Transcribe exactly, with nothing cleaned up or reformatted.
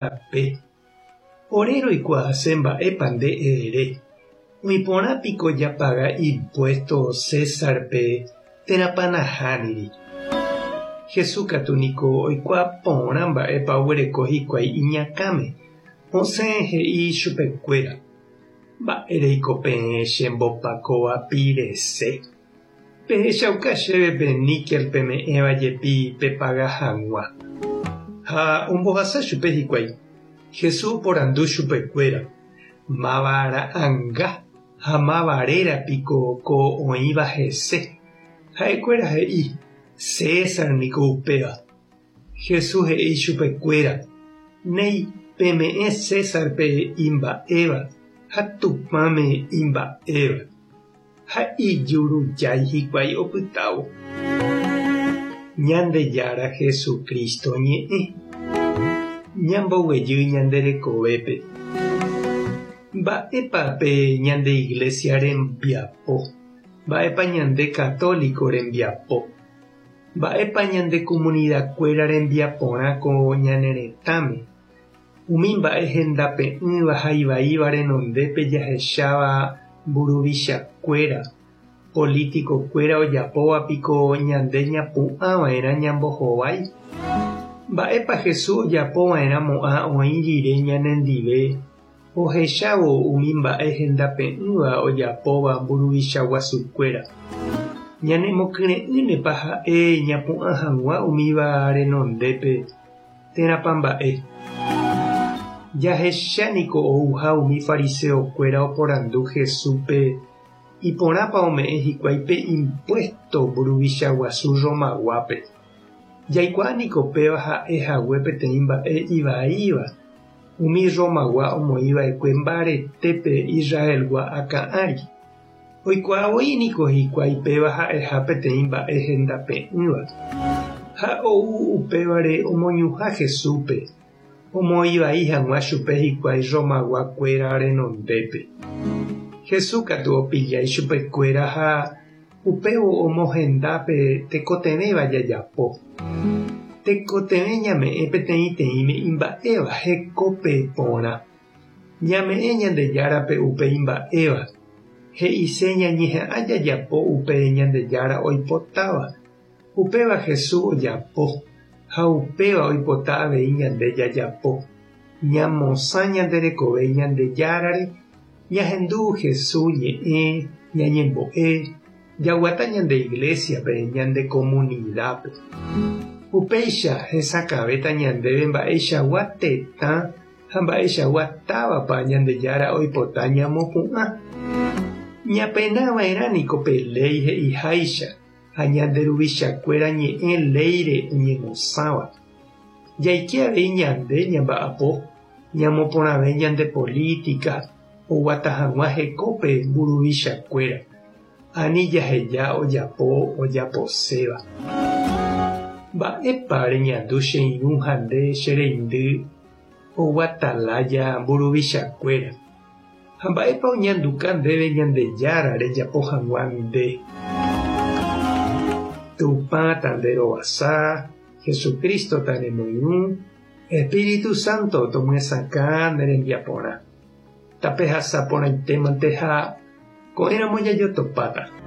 Rape. Ore roikuaase mba'épa nde ere. Oĩporãpiko japaga impuesto Césarpe térãpa nahániri. Jesús katu niko oikuaa porã mba'épa oguereko hikuái iñakãme. Osẽ he'i chupekuéra. Mba'éreiko peẽ chembopakovapirese. Pehechauka chéve pe níquel peme'ẽva jepi pepaga hag̃ua. Ha ombohasa chupe hikuái. Jesús oporandu chupekuéra. Máva ra'ãnga ha máva réra piko ko oĩva hese. Ha'ekuéra he'i César niko upéva. Jesús he'i chupekuéra. Néi peme'ẽ Césarpe imba'éva ha Tupãme imba'éva. Ha ijurujái hikuái opytávo. Ñandejára Jesucristo ñe'ẽ. Ñamboguejy ñande rekovépe. Mba'épa pe ñande iglesia rembiapo. Mba'épa ñande católico rembiapo. Mba'épa ñande comunidadkuéra rembiaporã ko ñane retãme. Umi mba'e hendape'ỹva ha ivaíva renondépe jahecháva mburuvichakuéra, politicokuéra ojapóvapiko ñande ñapu'ãva'erã ñambohovái. Mba'épa Jesús ojapova'erãmo'ã oĩ rire ñanendive ohechávo umi mba'e hendape'ỹva ojapóva mburuvicha guasukuéra. Ñanemokyre'ỹnepa ha'e ñapu'ã hag̃ua umíva renondépe térãpa mba'e. Jahechaniko ouha umi fariseokuéra oporandu Jesúspe iporãpa ome'ẽ hikuái pe impuesto mburuvicha guasu Romaguápe. Jaikuaániko péva ha'ehague peteĩ mba'e ivaíva umi Romagua omoĩva'ekue mbaretépe Israelgua akã ári. Oikuaavoíniko hikuái péva ha'eha peteĩ mba'e hendape'ỹva. Ha ou upévare omoñuhã Jesúspe omoĩvai hag̃ua chupe hikuái Romaguakuéra renondépe. Jesús katu opillái chupekuéra ha upévo omohendápe tekotevẽva jajapo. Tekotevẽ ñame'ẽ peteĩteĩme imba'éva hekópe porã. Ñame'ẽ Ñandejárape upe imba'éva. He'ise ñañeha'ã jajapo upe Ñandejára oipotáva. Upéva Jesús ojapo ha upéva oipota avei ñande jajapo. Ñamosã ñande rekove Ñandejárare, ñahendu Jesús ñe'ẽ, ñañembo'e, jaguata ñande iglesiape, ñande comunidadpe. Upéicha hesakãvéta ñandéve mba'eichagua tetã ha mba'eichagua távapa Ñandejára oipota ñamopu'ã. Ñapenava'erãniko pe léi he'iháicha ha ñande ruvichakuéra ñe'ẽ léire oñemosãva. Jaike avei ñande ñamba'apo, ñamoporãve ñande política, oguata hag̃ua hekópe mburuvichakuéra. Ani jaheja ojapo ojaposéva. Mba'épa reñandu che irũ ha nde che reindy oguatalája mburuvichakuéra. Ha mba'épa oñanduka ndéve Ñandejára rejapo hag̃ua nde. Tupã tanderovasa, Jesucristo tanemoirũ, Espíritu Santo tomyesakã ne rembiaporã. Tapehasa porãitémante ha ko'ẽramo jajotopáta.